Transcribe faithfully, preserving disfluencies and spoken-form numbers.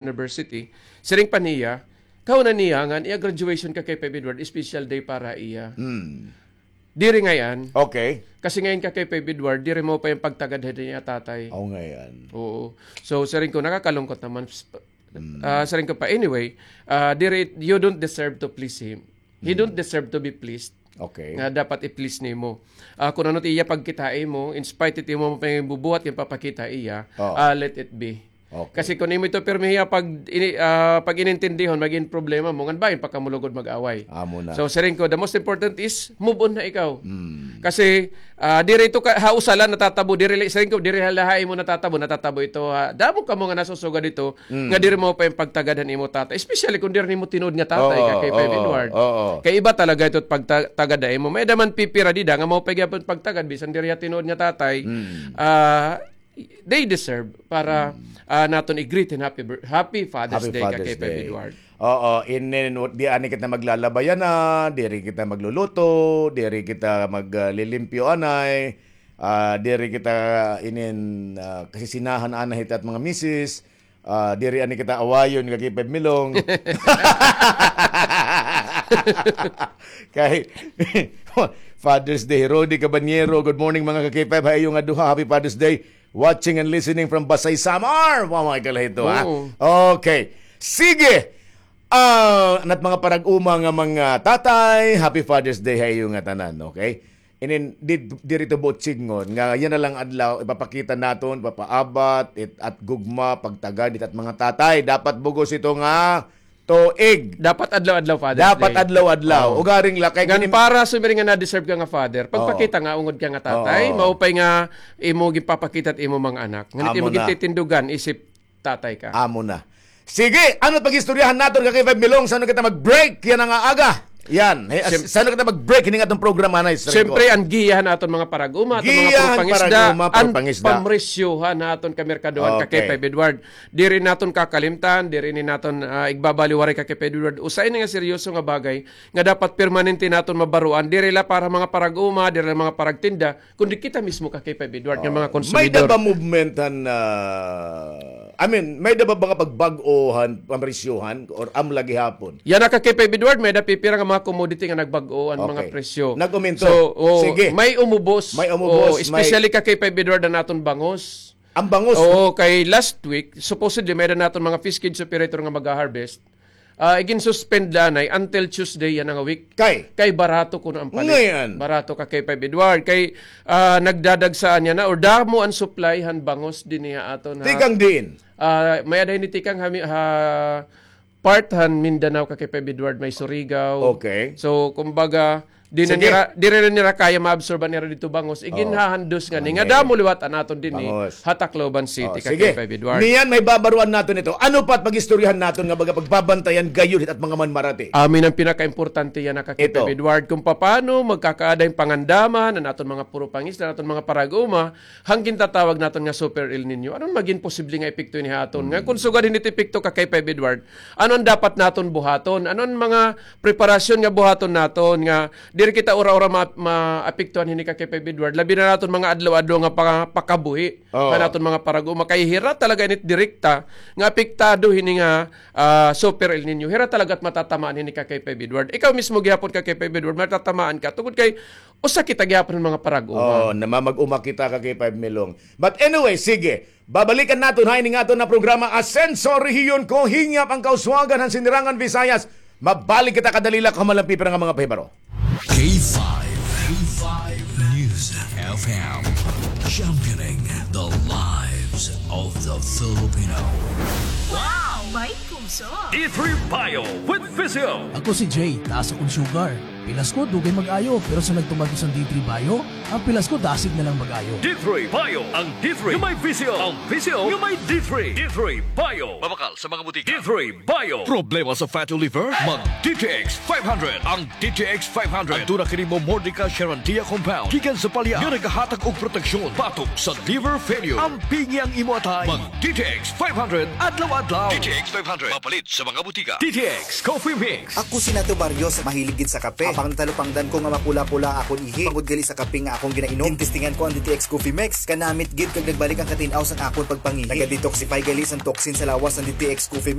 University, siring pa niya, kahuna niya ngan iya graduation, Kakay Feb Edward, special day para iya. Hmm. Diri ngay-an. Okay. Kasi ngay-an, Kakay Feb Edward, diri maupay an pagtagad han iya tatay. Oh, ngay-an. Oo. So, siring ko, nakakalungkot naman. Hmm. Ah, siring ko pa, anyway, ah, diri, you don't deserve to please him. He don't deserve to be pleased. Okay. Nga dapat i-please nimo. Ah, kun ano it iya pagkita ha imo, in spite it imo pangibubuhat nga papakita ha iya, ah, let it be. Okay. Kasi kun imo ito pirmi hiya pag ini-, ah, pag-inintindihon, magin problema mo, ngan bangin pa kamo lugod mag-away. Amo na. So, siring ko, the most important is move on na ikaw. Mm. Kasi, ah, diri ito ka, ha usa la natatabo, diri la, siring ko, diri la ha imo natatabo, natatabo ito ha damo kamo nga nasusugad ito, Mm. nga diri maupay an pagtagad han imo tatay. Especially kun diri nimo tinuod nga tatay, oo, Kakay Feb Edward. Oo. Kay iba talaga ito pagta-, tagad ha imo. May-ada man pipira dida nga maupay gihapon pagtagad, bisan diri ha tinuod nga tatay. Mm. Ah, they deserve para, mm, ah, naton i-greet hin happy bir-, happy Father's Day, Kakay Feb Edward. Oo, inin, di anay kita maglalaba yana, diri kita magluluto, diri kita mag, ah, lilimpyo anay, ah, diri kita inin, ah, kasisinahan anay hit at mga misis. Ah, diri anay kita awayon, Kakay Feb Milong. Kay Father's Day, Rody Cabanyero. Good morning, mga Kakay Feb. Ha iyo nga duha, happy Father's Day. Watching and listening from Basay, Samar. Wow, mga kalahito, ha? Oo. Okay. Sige. Ah, nat mga parag-uma nga mga tatay, happy Father's Day ha iyo nga tanan, okay? Inin, di, diri ito buot sidngon nga yana la nga adlaw, ipapakita naton, ipapaabat, it, at gugma, pagtagad, it at mga tatay. Dapat bug-os ito nga tuig. Dapat adlaw-adlaw, Father's Day. Dapat adlaw-adlaw. Oo. Ugaring la, kay ngan para sumiring nga na-deserve ka nga father, pagpakita nga ungod ka nga tatay, oo, maupay nga imo ginpapakita it imo mga anak. Ngan imo gintitindugan, isip tatay ka. Amo na. Sige, ano pag-istoryahan naton, Kakay Feb Milong, san-o kita mag-break yana nga aga? Yan. He, san-o kita mag-break hini nga aton programa na, siyempre, an giya han aton mga parag-uma, aton mga puro pangisda, an pamresyohan han aton kamerkadohan, Kakay Feb Edward. Diri naton kakalimtan, diri ini naton, ah, igbabaliwaray, Kakay Feb Edward. Usa ini nga seryoso nga bagay nga dapat permanente naton mabaroan. Diri la para mga parag-uma, diri la mga paragtinda, kundi kita mismo, Kakay Feb Edward, nga mga konsumidor. May-ada ba movement han, ah, I mean, may-ada ba mga pagbag-o han pamresyohan or amo la gihapon? Yana, Kakay Feb Edward, may-ada pipira nga mga commodity nga nagbag-o an mga presyo. Nag-uminto. So, oh, sige, may umubos. May umubos, oh, especially, Kakay Feb Edward, an aton bangos. An bangos? Oo, kay last week, supposedly, may-ada naton mga fish cage operator nga mag-harvest. Ah, igin-suspend la anay until Tuesday yana nga week. Kay? Kay barato kuno an palit. Ngay-an. Barato, Kakay Feb Edward. Kay, ah, nagdadagsaan yana or damo an supply han bangos dinhi ha aton, ha. Tikang diin? Ah, may-ada hini tikang ha mi-, ha part han Mindanao, Kakay Feb Edward, may Surigao. Okay. So, kumbaga, Di na nira, diri na nira kaya ma-absorb an ira didto bangos. Iginhahandos ngani nga damo liwat an aton dinhi ha Tacloban City, Kakay Feb Edward. Niyan, mahibabaroan naton ito. Ano pa it pag-istoryahan naton nga baga pagbabantayan gayod hit at mga manmarati? Amin an pinakaimportante yana, Kakay Feb Edward, kun papaano magkakaada hin pangandaman an aton mga puro pangisda, an aton mga parag-uma, han gintatawag naton nga Super El Niño. Ano an magin posible nga epekto hini ha aton? Nga kun sugad hini it epekto, Kakay Feb Edward, ano an dapat naton buhaton? Ano an mga preparasyon nga buhaton naton nga diri kita ura-ura ma-, maapektuhan hini, Kakay Feb Edward? Labi na naton mga adlaw-adlaw nga paka-, pakabuhi han aton mga parag-uma. Kay hira talaga ini it direkta nga apektado hini nga, ah, Super El Niño. Hira talaga it matatamaan hini, Kakay Feb Edward. Ikaw mismo gihapon, Kakay Feb Edward, matatamaan ka tungod kay usa kita gihapon han mga parag-uma. Oo, namamag-uma kita, Kakay Feb Milong. But anyway, sige. Babalikan naton ha ini nga aton nga programa, Asenso Rehiyon Ko, Hingyap an Kauswagan han Sinirangan Visayas. Mabalik kita kadali la, kahuman la an pipira nga mga pahibaro. K five, K five News F M, championing the lives of the Filipino. Wow! May puso! D three Bio with Physio. Ako si Jay, taas akong sugar. Pilas ko, dugay mag-ayo, pero sa nagtuman ko sa D three Bio, ang pilas ko dasig na lang mag-ayo. D three Bio, ang D three nga may Physio, ang Physio nga may D three. D three Bio. Mabakal sa mga butika. D three Bio. Problema sa fatty liver? Mag D T X five hundred. Ang D T X five hundred. Aduna kini Momordica charantia compound gikan sa palya nga nagahatag og proteksyon batok sa liver failure. Ampingi ang imo atay. Mag D T X five hundred adlaw-adlaw. D T X five hundred. Mapalit sa mga butika. D T X Coffee Mix. Ako si Nato Barrios, mahilig gid sa kape. Pangtalupangdan ko nga mapula-pula akon ihi. Bangod gali sa kape nga akon ginainom. Gintestingan ko an D T X Coffee Mix. Kanamit gid kag nagbalik an katin-aw san akon pagpangihi. Naga-detoxify gali san toxin sa lawas an D T X Coffee